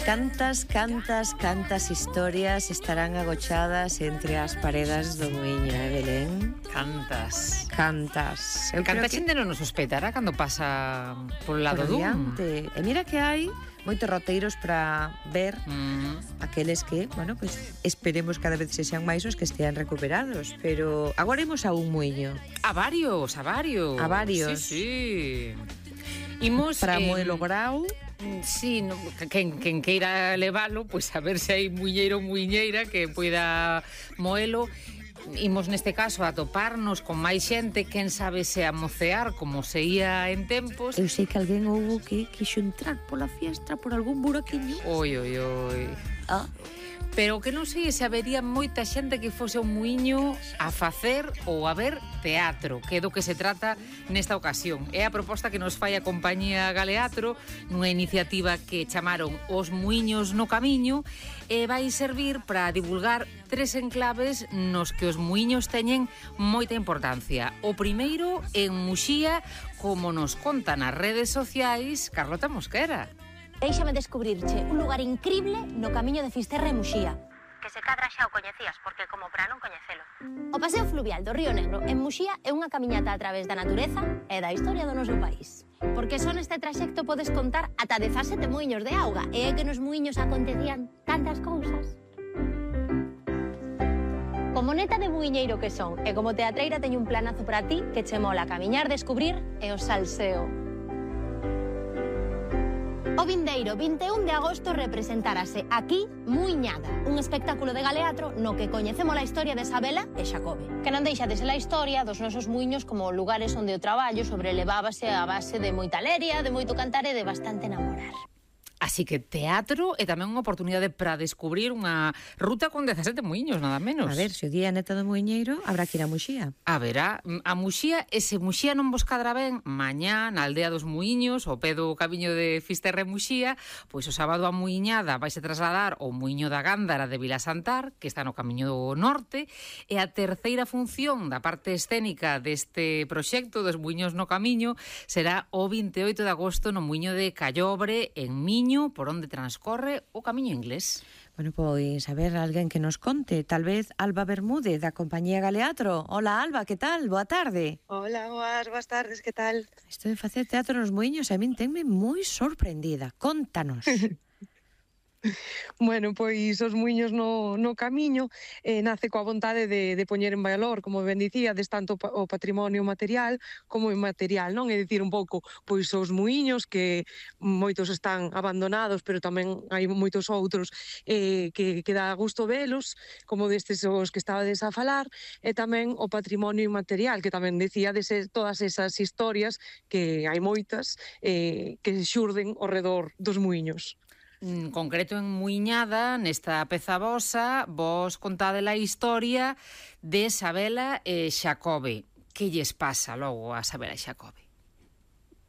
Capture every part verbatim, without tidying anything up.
Cantas, cantas, cantas historias estarán agochadas entre as paredes do muiño, eh, Belén? Cantas. Cantas. Eu Canta xente que... non nos hospeitará cando pasa polo lado dun. E mira que hai moitos roteiros para ver mm. aqueles que, bueno, pues esperemos cada vez se sean máis os que estean recuperados, pero agora imos a un muiño. A varios, a varios. A varios. Sí, sí. Imos para eh, Moelo Grau. Sí, no, quen, quen queira levalo, pois pues a ver se hai muiñeiro ou muiñeira que poida moelo. Imos neste caso a toparnos con máis xente, quen sabe se a mocear como se ia en tempos. Eu sei que alguén houve que quixo entrar pola fiestra por algún buraquiño. Oi, oi, oi. Ah. Pero que non sei se habería moita xente que fose un muiño a facer ou a ver teatro, que é do que se trata nesta ocasión. É a proposta que nos fai a compañía Galeatro nunha iniciativa que chamaron Os Muiños no Camiño e vai servir para divulgar tres enclaves nos que os muiños teñen moita importancia. O primeiro en Muxía, como nos conta nas redes sociais Carlota Mosquera. Déixame descubrirche un lugar incrible no camiño de Fisterra e Muxía. Que se cadra xa o coñecías, porque como para non coñecelo. O paseo fluvial do Río Negro en Muxía é unha camiñata a través da natureza e da historia do noso país. Porque só neste traxecto podes contar ata dezasete muiños de auga e é que nos muiños acontecían tantas cousas. Como neta de muiñeiro que son e como teatreira teño un planazo para ti que che mola camiñar, descubrir e o salseo. O vindeiro vinte e un de agosto representarase aquí Muiñada, un espectáculo de Galeatro no que coñecemos a historia de Sabela e Xacobe, que non deixa de ser a historia dos nosos muiños como lugares onde o traballo sobrelevábase a base de moita leria, de moito cantar e de bastante enamorar. Así que teatro é tamén unha oportunidade para descubrir unha ruta con dezasete muiños, nada menos. A ver, se o día neta do muiñeiro, habrá que ir a Muxía. A verá, a Muxía, e se Muxía non vos cadra ben, mañá, na aldea dos muiños, o pé do camiño de Fisterra e Muxía, pois o sábado a muiñada vaise trasladar ao muiño da Gándara de Vilasantar, que está no camiño do norte, e a terceira función da parte escénica deste proxecto dos muiños no camiño será o vinte e oito de agosto no muiño de Callobre, en Miño, por onde transcorre o camiño inglés. Bueno, pois, a ver, alguén que nos conte, tal vez Alba Bermúdez, da compañía Galeatro. Hola, Alba, que tal? Boa tarde. Hola, boas, boas tardes, que tal? Isto de facer teatro nos muiños a min tenme moi sorprendida. Contanos. Bueno, pois os muiños no, no camiño eh, nace coa vontade de, de poñer en valor, como ben dicíades, tanto o patrimonio material como inmaterial, non? É dicir, un pouco, pois os muiños que moitos están abandonados, pero tamén hai moitos outros eh, que, que dá gusto velos, como destes os que estabades a falar, e tamén o patrimonio inmaterial, que tamén dicíades todas esas historias, que hai moitas, eh, que xurden ao redor dos muiños. En concreto en Muiñada, nesta peza vosa, vos contade a historia de Sabela e Xacobe. Que lles pasa logo a Sabela e Xacobe?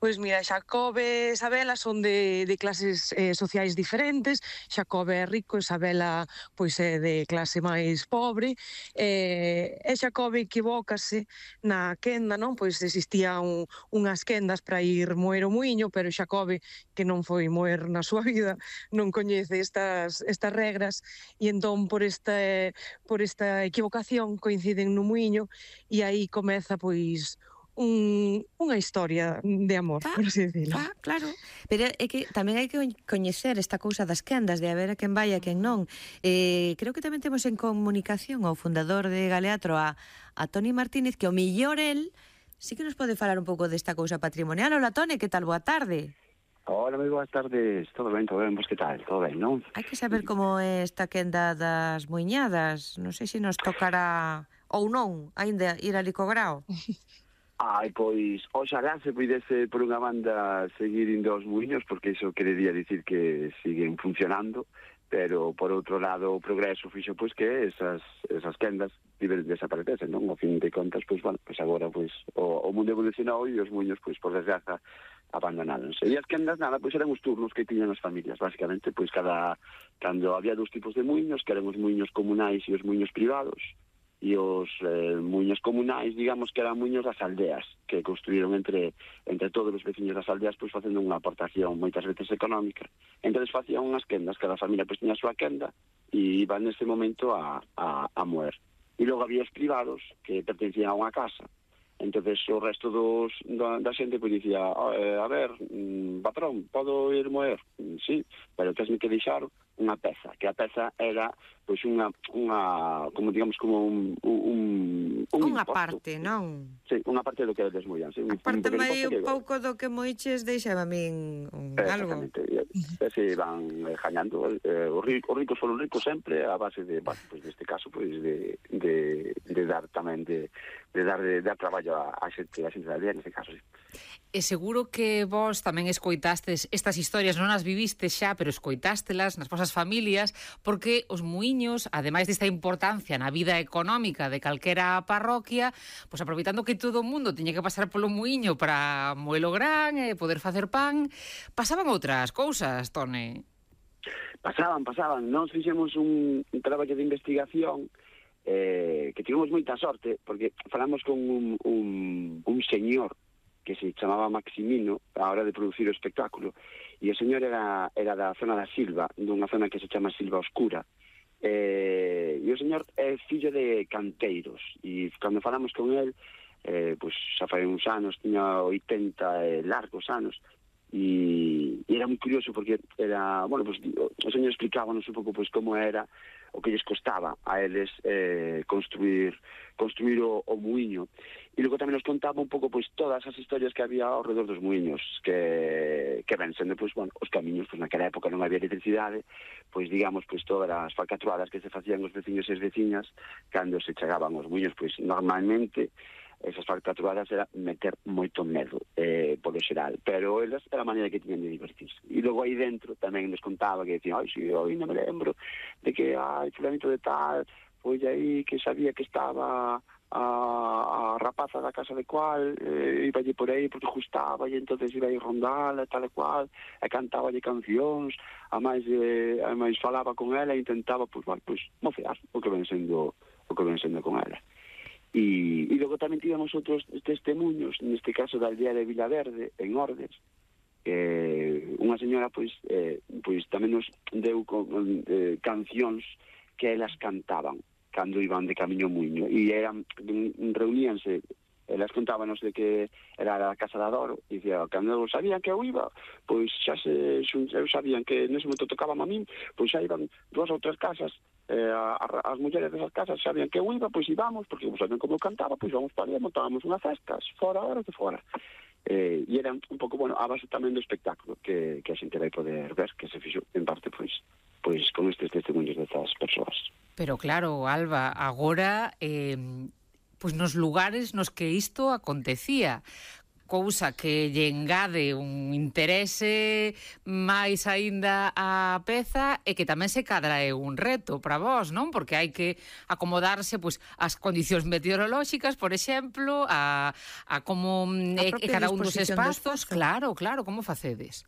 Pois mira, Xacobe e Sabela son de, de clases eh, sociais diferentes. Xacobe é rico e Sabela pois é de clase máis pobre. Eh, e Xacobe equivócase na quenda, non? Pois existían unhas quendas para ir moer o muiño, pero Xacobe, que non foi moer na súa vida, non coñece estas, estas regras, e entón por esta, por esta equivocación coinciden no muiño, e aí comeza pois Un, unha historia de amor, ah, por así decirlo. Ah, claro. Pero é que tamén hai que coñecer esta cousa das quendas, de a ver a quen vai e a quen non. Eh, creo que tamén temos en comunicación ao fundador de Galeatro, a, a Toni Martínez, que o millor el sí que nos pode falar un pouco desta cousa patrimonial. Hola, Toni, que tal? Boa tarde. Hola, moi boas tardes. Todo ben, todo ben, vos que tal? Todo ben, non? Hai que saber como é esta quenda das muiñadas. Non sei se nos tocará ou non, aínda ir a Licograo. Ai, pois, oxalá se puidese por unha banda seguir indo aos muiños, porque iso querería dicir que siguen funcionando, pero por outro lado o progreso fixo pois que esas, esas quendas desaparecesen, non? Ao fin de contas, pois, bueno, pois agora pois, o, o mundo evolucionou e os muiños, pois, por desgraza, abandonáronse. E as quendas, nada, pois eran os turnos que tiñan as familias, basicamente, pois cada, cando había dous tipos de muiños, que eran os muiños comunais e os muiños privados, e os eh, muiños comunais, digamos que eran muiños das aldeas, que construíron entre entre todos os veciños das aldeas, pois facendo unha aportación moitas veces económica. Entón facían unhas quendas, cada familia pois tiña a súa quenda e iban neste momento a, a, a moer. E logo había os privados que pertencían a unha casa. Entonces o resto dos, da, da xente pois dicía, oh, eh, a ver, mm, patrón, podo ir moer? Mm, sí, pero tesme que deixar unha peza, que a peza era pois unha, unha como digamos como un un, un unha imposto. parte, non? Sí, unha parte do que desmoían, sí, un, Aparte un mai un que... pouco do que moiches deixaba a min un, algo. Exactamente, e se van eh, jañando, eh, os, ricos, os ricos foron ricos sempre a base de, bueno, pues neste caso, pois pues de, de, de dar tamén de, de dar de dar traballo a, a xente, a xente da aldea, neste caso, sí. E seguro que vos tamén escoitastes estas historias, non as vivistes xa, pero escoitástelas nas vosas familias, porque os muiños, ademais desta importancia na vida económica de calquera parroquia, pois aproveitando que todo o mundo tiña que pasar polo muiño para moelo gran e poder facer pan, pasaban outras cousas, Tone. Pasaban, pasaban. Nós fixemos un, un traballo de investigación eh, que tivemos moita sorte, porque falamos con un, un, un señor que se chamaba Maximino a hora de producir o espectáculo, e o señor era, era da zona da Silva, dunha zona que se chama Silva Oscura, eh, e o señor é fillo de canteiros, e cando falamos con el, eh, pois xa fai uns anos, tiña oitenta eh, largos anos, e, e era moi curioso porque era, bueno, pues, o señor explicábanos un pouco pues, como era o que lles costaba a eles eh, construir construir o, o muiño, e logo tamén nos contaba un pouco pois todas as historias que había ao redor dos muiños, que que ven sendo pois bueno, os camiños, pois naquela época non había electricidade, pois digamos pois todas as falcatruadas que se facían os veciños e as veciñas cando se chegaban os muiños, pois normalmente esas falcatruadas era meter moito medo eh, polo xeral, pero elas era a maneira que tiñan de divertirse. E logo aí dentro tamén nos contaba que decían, ai, si, hoy non me lembro de que, ai, fulanito de tal, foi aí que sabía que estaba a, a rapaza da casa de cual, eh, iba allí por aí porque gustaba, e entonces iba aí rondala, tal e cual, e cantaba allí cancións, a máis, eh, a máis falaba con ela e intentaba, pois, bueno, pois, mofear o que ven sendo, o que ven sendo con ela. E, e logo tamén tivemos outros testemunhos, neste caso da aldea de Vilaverde, en Ordes, eh, unha señora pois, eh, pois tamén nos deu con, eh, cancións que elas cantaban cando iban de camiño muiño, e eran, reuníanse, elas contábanos de que era a casa da Doro, e dicía, cando sabían que eu iba, pois xa se eu sabían que nese momento tocaban a min, pois xa iban dúas ou tres casas, eh, a, a, as mulleres desas casas sabían que eu iba, pois íbamos, porque sabían como eu cantaba, pois vamos para ali, montábamos unha festa, fora horas de fora. Eh, e era un pouco, bueno, a base tamén do espectáculo que, que a xente vai poder ver, que se fixo en parte, pois, pois con estes testemunhos destas persoas. Pero claro, Alba, agora, eh, pois nos lugares nos que isto acontecía, cousa que lle engade un interese máis aínda á peza e que tamén se cadra é un reto para vos, non? Porque hai que acomodarse pois ás condicións meteorolóxicas, por exemplo, a, a como é cada un dos espazos, claro, claro, como facedes?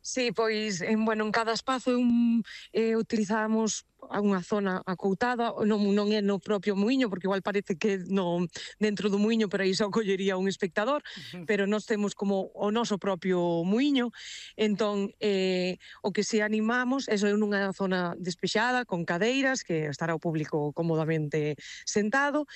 Sí, pois, en, bueno, en cada espazo un, eh, utilizamos unha zona acoutada, non, non é no propio muiño, porque igual parece que no, dentro do muiño, pero aí só collería un espectador, pero nós temos como o noso propio muiño, entón, eh, o que se animamos é nunha zona despexada, con cadeiras, que estará o público cómodamente sentado,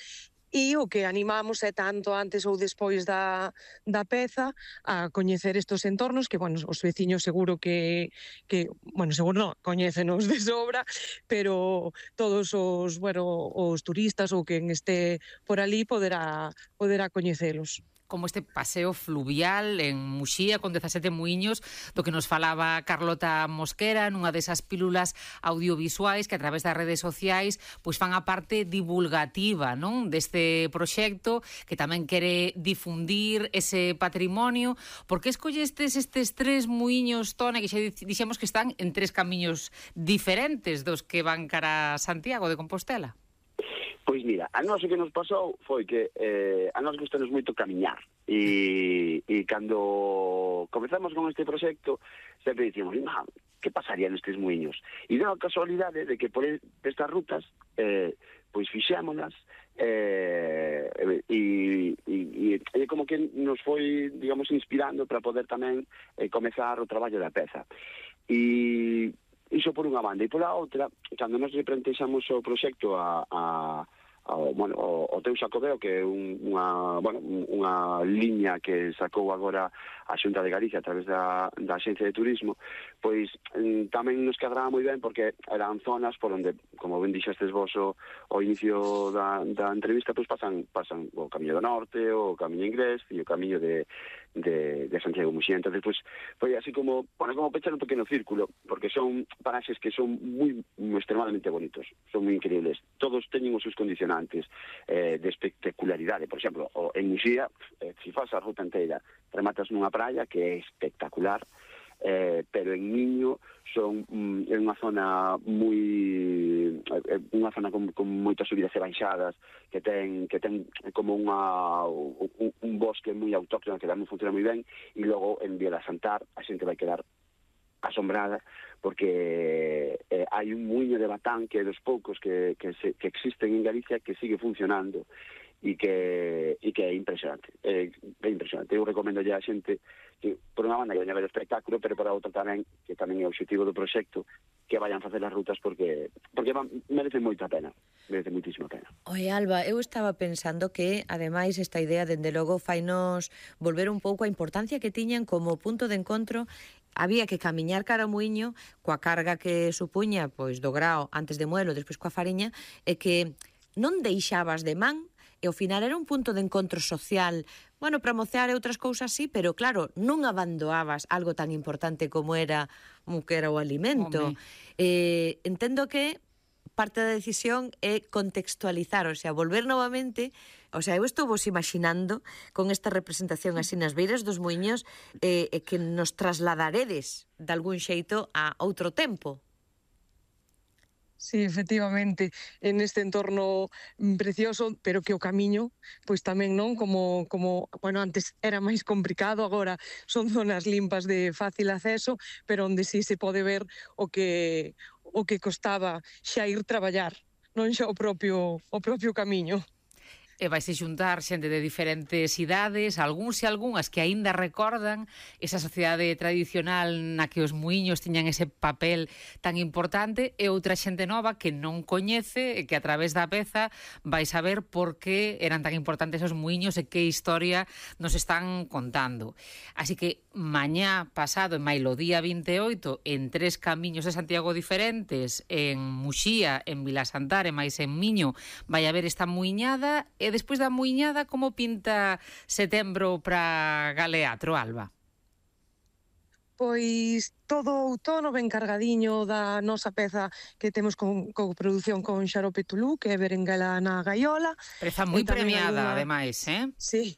e o que animamos é tanto antes ou despois da, da peza a coñecer estos entornos que, bueno, os veciños seguro que, que bueno, seguro non, coñécenos de sobra, pero todos os, bueno, os turistas ou quen este por ali poderá, poderá coñecelos. Como este paseo fluvial en Muxía con dezasete muiños do que nos falaba Carlota Mosquera nunha desas pílulas audiovisuais que a través das redes sociais pois fan a parte divulgativa, non, deste proxecto que tamén quere difundir ese patrimonio. Por que escollestes estes tres muiños, Tone, que xa dixemos que están en tres camiños diferentes dos que van cara a Santiago de Compostela? Pois mira, a nós o que nos pasou foi que eh, a nós gustanos moito camiñar e, e cando comezamos con este proxecto sempre dicíamos, que pasaría nestes muiños? E deu a casualidade de que por estas rutas eh, pois fixémonas, eh, e, e, e como que nos foi, digamos, inspirando para poder tamén eh, comezar o traballo da peza. E iso por unha banda, e pola outra, cando nos replantexamos o proxecto a, a Ao, bueno, o, o teu Xacobeo, que é un, unha, bueno, unha liña que sacou agora a Xunta de Galicia a través da, da Axencia de Turismo, pois mm, tamén nos quedará moi ben porque eran zonas por onde, como ben dixestes vos o, o inicio da, da entrevista, pois pasan, pasan o Camiño do Norte, o Camiño Inglés e o Camiño de, de, de Santiago Muxía. Entón, pois, foi así como, bueno, como pechar un pequeno círculo, porque son paraxes que son moi, extremadamente bonitos, son moi increíbles. Todos teñen os seus condicionantes eh, de espectacularidade. Por exemplo, o, en Muxía, eh, se faz a ruta inteira, rematas nunha praia que é espectacular, eh, pero en Miño son mm, é unha zona moi é unha zona con, con moitas subidas e baixadas, que ten que ten como unha un, un bosque moi autóctono que tamén funciona moi ben, e logo en Vía da Santar a xente vai quedar asombrada porque eh, hai un muiño de batán que é dos poucos que, que, se, que existen en Galicia que sigue funcionando e que, e que é impresionante, é, é impresionante. Eu recomendo a xente que, por unha banda, que veña a ver o espectáculo, pero por a outra tamén, que tamén é o objetivo do proxecto, que vayan facer as rutas porque porque van, merecen moita pena, merece moitísima pena. Oi, Alba, eu estaba pensando que, ademais, esta idea, dende logo, fainos volver un pouco a importancia que tiñan como punto de encontro. Había que camiñar cara ao muiño coa carga que supuña, pois, do grao antes de Muelo, despois coa fariña, e que non deixabas de man, e ao final era un punto de encontro social, bueno, para mocear e outras cousas sí, pero claro, non abandoabas algo tan importante como era, como que era o alimento. Eh, entendo que parte da decisión é contextualizar, o sea, volver novamente, o sea, eu estou vos imaginando con esta representación así nas beiras dos muiños eh, e que nos trasladaredes de algún xeito a outro tempo. Sí, efectivamente, en este entorno precioso, pero que o camiño, pois tamén non, como, como, bueno, antes era máis complicado, agora son zonas limpas de fácil acceso, pero onde sí se pode ver o que o que costaba xa ir traballar, non xa o propio o propio camiño. E vaise xuntar xente de diferentes idades, algúns e algunhas que aínda recordan esa sociedade tradicional na que os muiños tiñan ese papel tan importante, e outra xente nova que non coñece e que a través da peza vai saber por que eran tan importantes os muiños e que historia nos están contando. Así que mañá pasado, en maio día vinte e oito, en tres camiños de Santiago diferentes, en Muxía, en Vilasantar e máis en Miño, vai haber esta muiñada. E despois da muiñada, como pinta setembro para Galeatro, Alba? Pois todo o outono ben cargadiño da nosa peza que temos con, con produción con Xarope Tulú, que é Berenguela na Gaiola. Peza moi premiada, alguna... ademais, eh? Sí,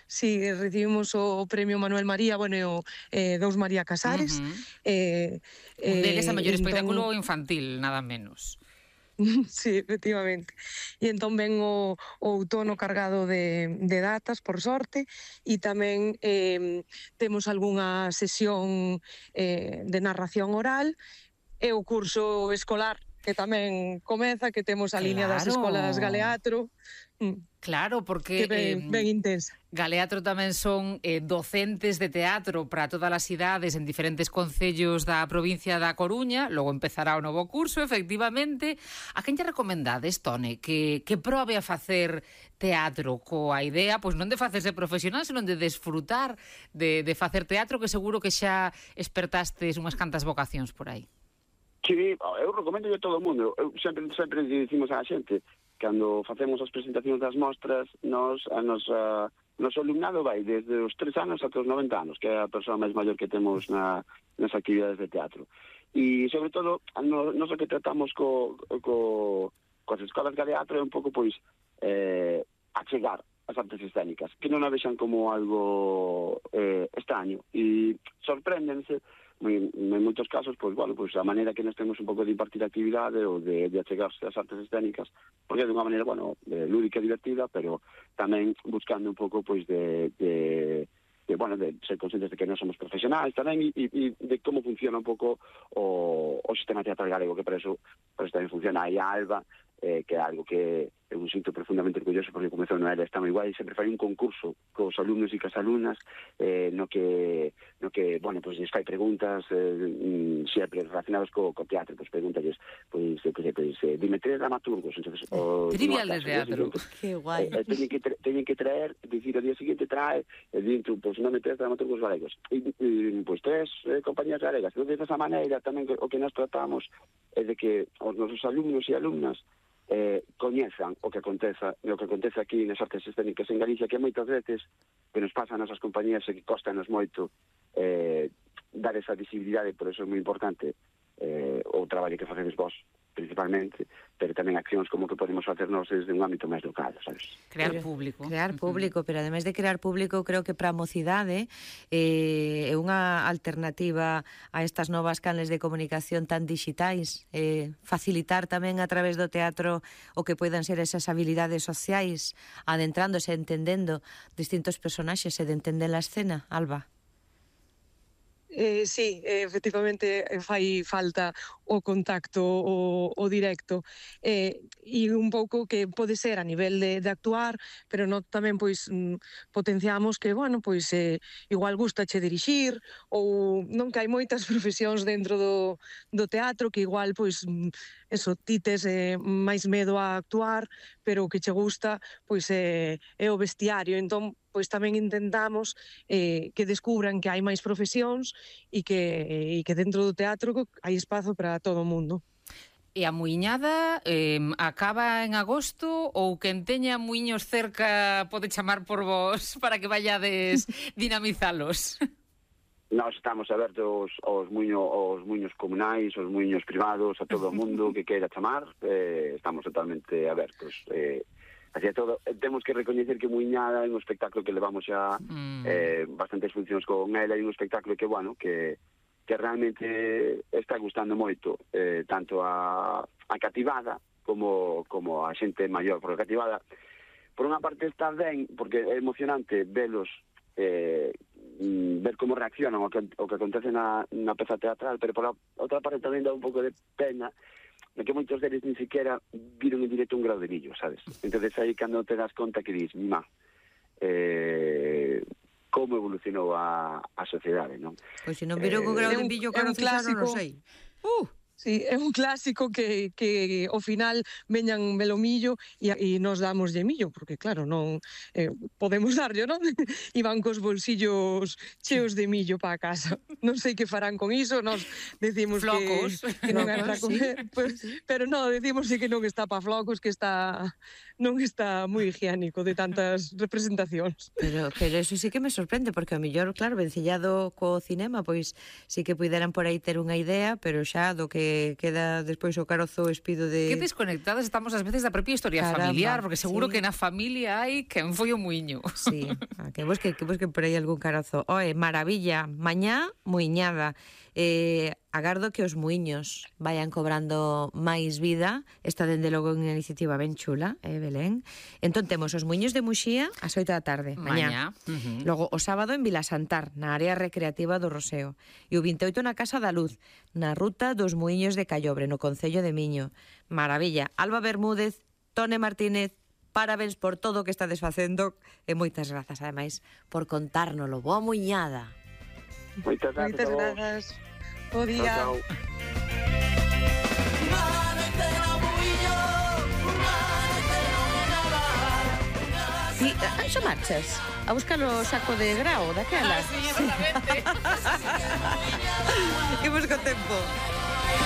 sí, recibimos o premio Manuel María, bueno, e o eh, Dous María Casares. Uh-huh. eh, Un deles a mellor entón... espectáculo infantil, nada menos. Sí, efectivamente. E entón ven o, o outono cargado de, de datas, por sorte, e tamén eh, temos algunha sesión eh, de narración oral e o curso escolar que tamén comeza, que temos a claro. Liña das escolas Galeatro. Claro, porque ben, eh, ben intensa. Galeatro tamén son eh, docentes de teatro para todas as idades en diferentes concellos da provincia da Coruña. Logo empezará o novo curso, efectivamente. A quen lle recomendades, Tone, que, que probe a facer teatro coa idea, pois non de facerse profesional, senón de desfrutar de, de facer teatro, que seguro que xa espertastes unhas cantas vocacións por aí. Sí, eu recomendo a todo o mundo. Eu sempre, sempre dicimos a xente, cando facemos as presentacións das mostras, nos, a nos, a, noso alumnado vai desde os tres anos ata os noventa anos, que é a persoa máis maior que temos na, nas actividades de teatro. E, sobre todo, no, nos o que tratamos co, co, coas escolas Galeatro é un pouco, pois, eh, achegar as artes escénicas, que non a vexan como algo eh, extraño, e sorpréndense. En moitos casos, pois, bueno, pois a maneira que nós temos un pouco de impartir actividade ou de, de achegarse as artes escénicas, porque é de unha maneira, bueno, de lúdica e divertida, pero tamén buscando un pouco, pois, de, de, de bueno, de ser conscientes de que non somos profesionais tamén, e, e de como funciona un pouco o, o sistema teatral galego, que por eso, por eso tamén funciona aí a Alba, eh, que é algo que eu me sinto profundamente orgulloso porque comezou no ela, está moi guai, sempre fai un concurso cos alumnos e cos alumnas eh, no que, no que, bueno, pois, pues, fai preguntas eh, sempre relacionadas co, co teatro, pois, pues, pregúntalles, pois, pues, pues, pues, eh, dime tres dramaturgos, entonces, o, trivial de teatro. Que guai. Eh, eh, teñen, que tra teñen que traer, dicir, o día seguinte trae, e dentro, pois, pues, non me tres dramaturgos galegos, e, e pois, pues, tres eh, compañías galegas, entonces, desa maneira, tamén o que nós tratamos é de que os nosos alumnos e alumnas eh, coñezan o que aconteza o que acontece aquí nas artes escénicas en Galicia, que moitas veces que nos pasa a nosas compañías e que costanos moito eh, dar esa visibilidade, por eso é moi importante eh, o traballo que facedes vos principalmente, pero tamén accións como que podemos facernos desde un ámbito máis local, sabes? Crear Pero, público. Crear público, uh -huh. Pero ademais de crear público, creo que para a mocidade eh, é unha alternativa a estas novas canles de comunicación tan digitais, eh, facilitar tamén a través do teatro o que poidan ser esas habilidades sociais, adentrándose, entendendo distintos personaxes e de entender a escena, Alba. Eh, sí, eh, efectivamente fai falta o contacto o, o directo eh, e un pouco que pode ser a nivel de, de actuar, pero non tamén pois mm, potenciamos que, bueno, pois eh, igual gustache dirixir ou non que hai moitas profesións dentro do, do teatro que igual pois mm, eso, ti tes eh, máis medo a actuar, pero o que che gusta pois eh, é o vestiario, entón pois tamén intentamos eh, que descubran que hai máis profesións e que, e que dentro do teatro hai espazo para todo o mundo. E a muiñada eh, acaba en agosto ou quen teña muiños cerca pode chamar por vos para que vayades dinamizalos? Nós estamos abertos aos, muño, aos muiños comunais, aos muiños privados, a todo o mundo que queira chamar, eh, estamos totalmente abertos. Eh, así é todo, temos que recoñecer que Muiñada é un espectáculo que levamos xa mm. eh, bastantes funcións con ela, e un espectáculo que, bueno, que, que realmente está gustando moito, eh, tanto a, a cativada como, como a xente maior, porque a cativada, por unha parte está ben, porque é emocionante velos, eh, ver como reaccionan o que, o que acontece na, na peza teatral, pero por a outra parte tamén dá un pouco de pena de que moitos deles ni siquiera viron en directo un grau de millo, sabes? Entonces aí cando te das conta que dis, mima, eh, como evolucionou a, a sociedade, non? Pois se non viron eh, un grau de millo, claro, fixaron, non sei. Uh! Sí, é un clásico que, que ao final veñan melomillo e, e nos damos de millo, porque claro, non eh, podemos darlle, non? E van cos bolsillos cheos de millo para casa. Non sei que farán con iso, nos decimos flocos, que, que non é para comer, sí. Pues, pero non, decimos que non está para flocos, que está non está moi higiénico de tantas representacións. Pero, pero eso sí que me sorprende, porque ao mellor, claro, vencellado co cinema, pois sí que puderan por aí ter unha idea, pero xa do que queda despois o carozo espido de... Que desconectadas estamos ás veces da propia historia Caramba, familiar, porque seguro sí. que na familia hai quen foi o muiño. Sí, que busquen, que busquen por aí algún carozo. Oe, maravilla, mañá muiñada. Eh, agardo que os muiños vayan cobrando máis vida. Esta dende logo unha iniciativa ben chula, eh, Belén. Entón temos os muiños de Muxía ás oito da tarde, mañá. mañá. Uh -huh. Logo o sábado en Vilasantar, na área recreativa do Roseo. E o vinte e oito na Casa da Luz, na ruta dos muiños de Callobre, no concello de Miño. Maravilla. Alba Bermúdez, Tone Martínez, parabéns por todo o que estades facendo e moitas grazas, ademais, por contárnoslo. Boa muiñada. Moitas grazas. Moitas grazas. Bo día. Chao, chao. Sí, anxo marchas a buscar o saco de grao daquela. Ah, sí, exatamente. Imos co tempo.